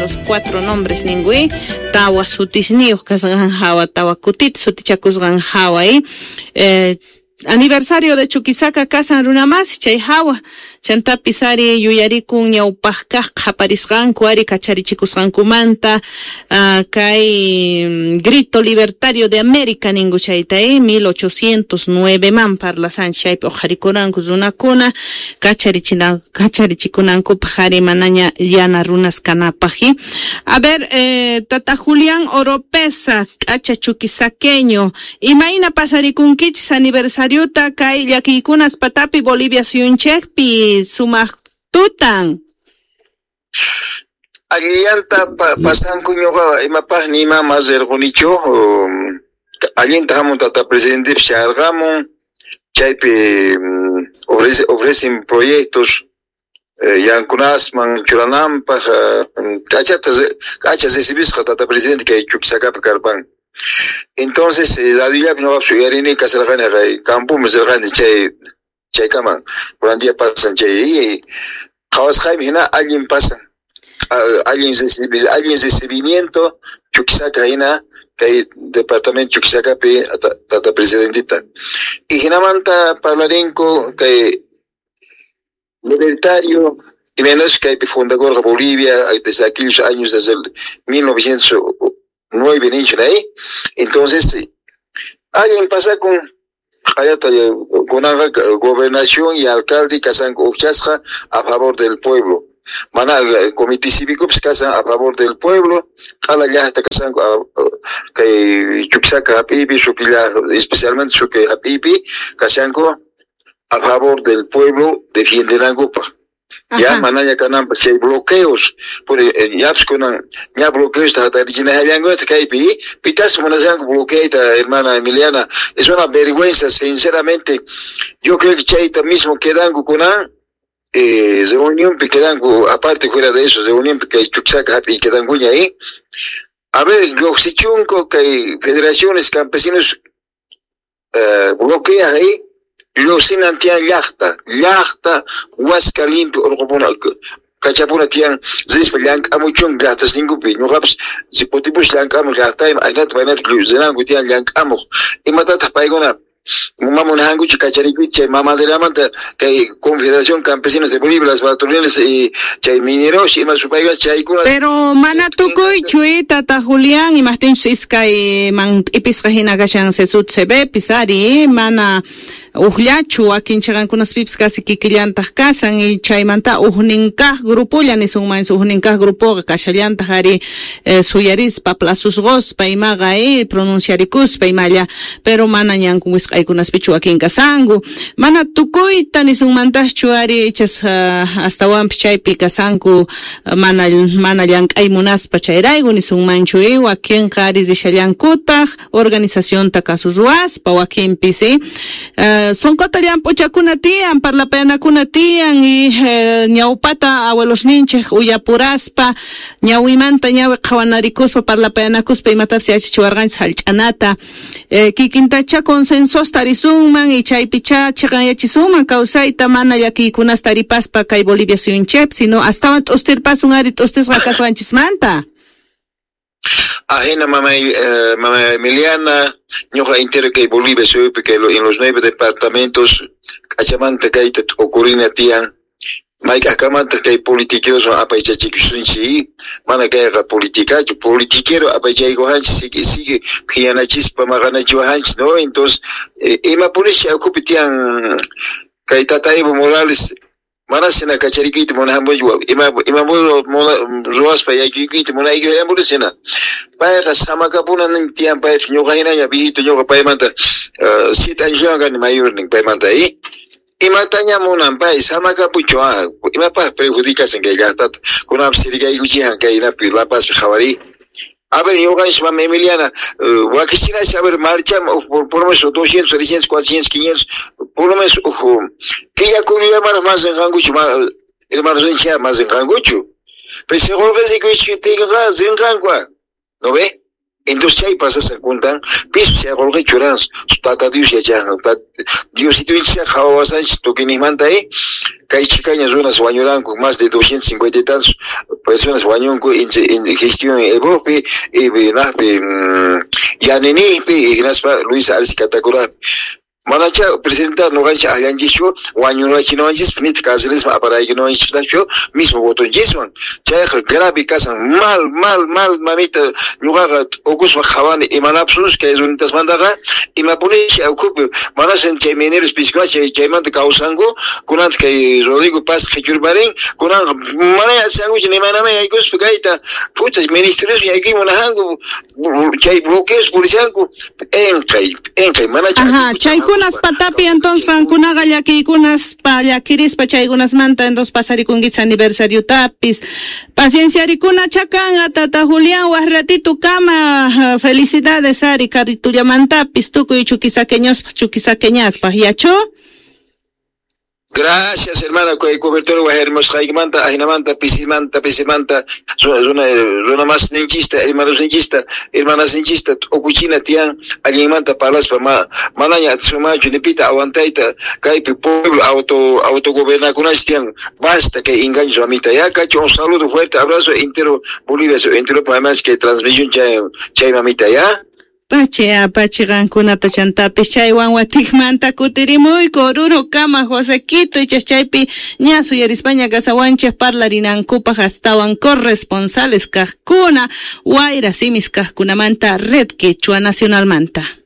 Los cuatro nombres ninku, tawa sutisniyuq kasqan hawa, tawa kutita sutichakusqan hawa, aniversario de Chuquisaca kasan runamasi chay hawa, chantapis ari yuyarikun ñawpaq kaq qhaparisqanku ari kacharichikusqankumanta, kay grito libertario de América ninku chayta, 1809 man parlasanchik, chaypi uqharikuranku runakuna kacharichikunankupaq ari manaña yana runas kanapaq. A ver, tata Julián Oropesa, k'acha chuquisaqueño, imayna pasarikunkichis aniversariota kay llakiykunas patapi Bolivia suyunchikpi sumaq tutan? Allillanta pasanku ñuqa imapaq ni ima mas rirqunichu, allinta hamun tata presidente sharqamun, chaypi ofrecen proyectos yankunasman churananpaq, k'achata k'acha recibisqa tata presidente kay Chuquisacapi karpan. Entonces radiollapi ñuqapas uyarini kasarqani kay campoman rirqani chay chaykaman kunan día pasan chay qhawasqaymi hina allin pasan, allin allin recibimiento Chuquisaca hina kay departamento Chuquisacapi tata presidentita. Y hinamanta parlarinku kay libertario y menos kaypi fundakurqa Bolivia desde aquellos años, desde el 1909 nichu, ¿eh? Entonces allin pasakun hayata kunanqa gobernación y alcalde kasanku uqchasqa a favor del pueblo, mana comité cívico pues kasan a favor del pueblo, q'ala llaqta kasanku kay Chuquisaca hap'iypi, Suqui especialmente Suqui hap'iypi kashanku a favor del pueblo defiendenankupaq. Ya manaña kananpaq chay bloqueos, por ñapis kunan ña bloqueos hatarichinallankuta kaypi, pitas munashanku bloqueayta, hermana Emiliana, es una vergüenza, sinceramente. Yo creo que chayta mismo quedanku kunan reunionpi quedanku, aparte fuera de eso, reunionpi kay Chuquisaca hap'iy quedankuña ahí. A ver, lluqsichunku kay federaciones campesinos bloquean ahí, lluqsinan tiyan llaqta, llaqta huasca limpio urqupuna kachapuna tiyan rispa llank'amuchun llaqtasninkupi, ñuqapas si kutipus llank'amuq llaqtayman ajinata paynata rinanku tiyan llank'amuq, imatataq paykuna mamunankuchu kacharikuyta chay mamaderamanta kay Confederación Campesinos de Bolivia, las patronales y chay mineros ima supaykuna chaykuna. Pero mana tukuychu, tata Julián, imaqtinchus iskayman t'ipisqa hina kashan CSUTCB ari, mana uqllachu wakin chiqankunaspipis casi kikillantaq kasan, y chaymanta ujnin kaq grupolla nisunman, ujnin kaq grupoqa kashallantaq ari suyarispa plazosqospa imaqa pronunciarikuspa imalla, pero mana ñanku wisq'aykunaspichu wakin kasanku, mana tukuyta nisunmantaschu ari ichas astawanpis chaypi kasanku mana mana llank'ay munaspa chayrayku nisunmanchu, wakinqa ari rishallankutaq organizacionta kasu ruwaspa wakinpis, sunquta llamp'uchakuna tiyan, parlapayanakuna tiyan, y ñawpata abuelosninchik uyapuraspa ñawimanta ñawi qhawanarikuspa parlapayanakuspa imatapis yachachiwarqanchik sallch'anata, kikintacha consensos tarisunman y chaypicha chiqanyachisunman kawsayta mana llakiykunas taripaspa kay Bolivia suyunchikpi, sino astawan t'ustirpasun ari t'ustisqa kasqanchismanta. Ajena mamay, mamá Emiliana, ñuqa entero kay Bolivia suyupi kay en los nueve departamentos k'achamanta kayta t'ukurina tiyan, mayk'aqkamantaq kay politiqueros apaychachikusunchik, mana kayqa politicachu, politiquero apaychaykuwanchik sigue sigue phiñanachispa maqanachiwajanchik, no? Entonces imapunishi ukhupi tiyan kay tata Evo Morales mana shina kacharikuyta munajanpunchu, ima ima ruwaspa yaykukuyta munaykuyanpuni shina payqa samakapuna nin tiyan paypis ñuqa hinaña viejito, ñuqa paymanta 7 años kani mayor nin paymanta, imataña munan pay samakapuchu, imapaq perjudicashan kay llaqtata, kunanpis sirikaykuchijan kay inapi La Pazpi qhawari. A ver, ñuqanchis mama Emiliana, wakichinash, a ver, marcham por lo menos 200, 300, 400, 500, por lo menos killa kullamanaq mas rinqankuchu, hermanos rinchik mas rinqankuchu. Pero si qulqisikuchiptinqa rinqanku, ¿no ve? Entonces chay pasasqa kuntan pisu chay qolqe churan tata Dios yachan Diosito qhawawasanchis tukuyninmanta kay chhikaña runas wañuranku más de 250 y tantos personas wañunku en gestión Evopi y naqpi Yaninijpi hinaspa Luis Arce Catacurapi. Manacha presidenta noqanchis akllanchischu wañurachinawanchispa nitaq carcelisman aparaykunawanchistachu mismo votonchiswan. Chayqa grave kasan mal mal mal mamita ñuqaqa ukuspa qhawani imanapsus kay runitasmantaqa imapunishi ukhupi manasan chay mineros piskuna chay chaymanta kawsanku kunanta kay Rodrigo Paz qhichurparin kunanqa mana yachankuchu nimanama yaykuspa kayta pucha ministerios yaykuy munajanku chay bloqueos purishanku p'enqay p'enqay manacha. Ajá, chaykunas patapi entonces qankunaqa llakiykunaspa llakirispa chaykunasmanta entonces pasarikunkichis aniversariotapis. Pacienciarikuna chakanqa tata Julián waj ratito kama felicidades ari karritullamantapis tukuy chuquisaqueñospaj chuquisaqueñaspaj yacho. Gracias, hermana, kay cobertura wajarimusqaykimanta ajinamanta pisimanta pisimanta runa runa mas ninchista hermanos ninchista hermanas ninchista t'ukuchina tiyan allinmanta parlaspa ma manaña atisunmanchu nipita aguantayta kaypi pueblo auto autogobernakunash tiyan basta kay engaños mamita ya cacho un saludo fuerte abrazo entero Bolivia entero además que transmisión chay chay mamita ya. Pachi apachi qankunata chantapis chaywan watikmanta kutirimuyku Oruro kama Josequito ichas chaypi ña suyarispaña kasawanchik parlarinankupaq astawan corresponsales kaqkuna wayra simis kaqkunamanta Red Quechua Nacionalmanta.